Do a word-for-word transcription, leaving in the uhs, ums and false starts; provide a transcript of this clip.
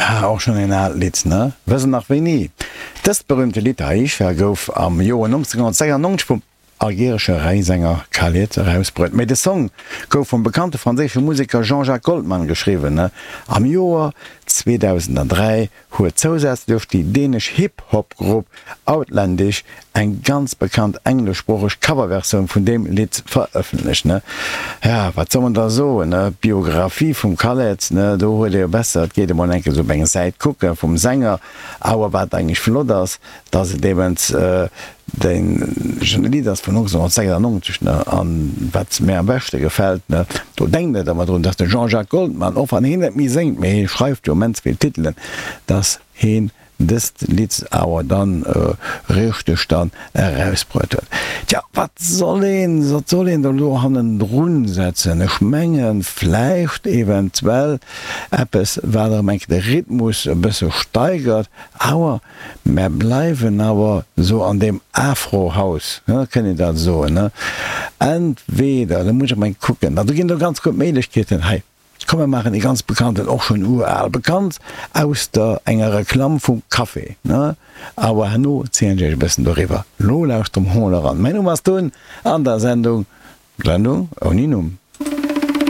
Ah, och schonn een aalt Lidd, ne? Wëss nach wéini? Dëst berüümte Lidd Aïcha gouf am Joer nonzénghonnertsechsannonzeg vum algeresche Räisänger Khaled erausbruet. Mee de Song gouf vum bekannte franséische Museker Jean-Jacques Goldman geschriwwen, ne? Am Joer zweedausenddräi huet zousätzlech déi dänesch Hip-Hop-Grupp Outlandish eng ganz bekannt engleschsproocheg Coverversioun vun deem Lidd verëffentlecht, ne? Ja, wat soll man da soen, ne? D'Biographie vum Khaled, ne, do huet ee jo besser, et geet emol eng Kéier esou op eng Säit kucke vum Sänger. Awer wat eigentlech flott ass, dass et eben deen Lidd ass vun nonzénghonnertsechsannonzeg, ne? An wat mir am beschte gefält, ne, do denkt net ëmmer drun, dass de Jean-Jacques Goldman, och wann heen net méi séngt, mee hee schreift jo immens vill Titelen, dass heen dëst Lidd awer dann richteg dann erausbruet huet. Tja, wat soll een, wat soll een da lo hannendrun setzen? Ech mengen vläicht eventuell eppes, wat erëm eng Kéier de Rhythmus e bësse steigert, awer mär bleiwen awer esou an deem Afro-House, kënnt een dat soen, ne? Entweder, da muss ech erëm eng Kéier kucken, do ginn et och ganz gutt Méiglechkeeten hei. Komm mer maachen ee ganz bekannten, och schonn ural bekannt, aus der enger Reklamm vum Café, ne? Awer herno zielen ech iech e bëssen doriwwer. Lo lauschtert mol eran. Mäin Numm ass Tun an der Sendung, Sendung ouni Numm.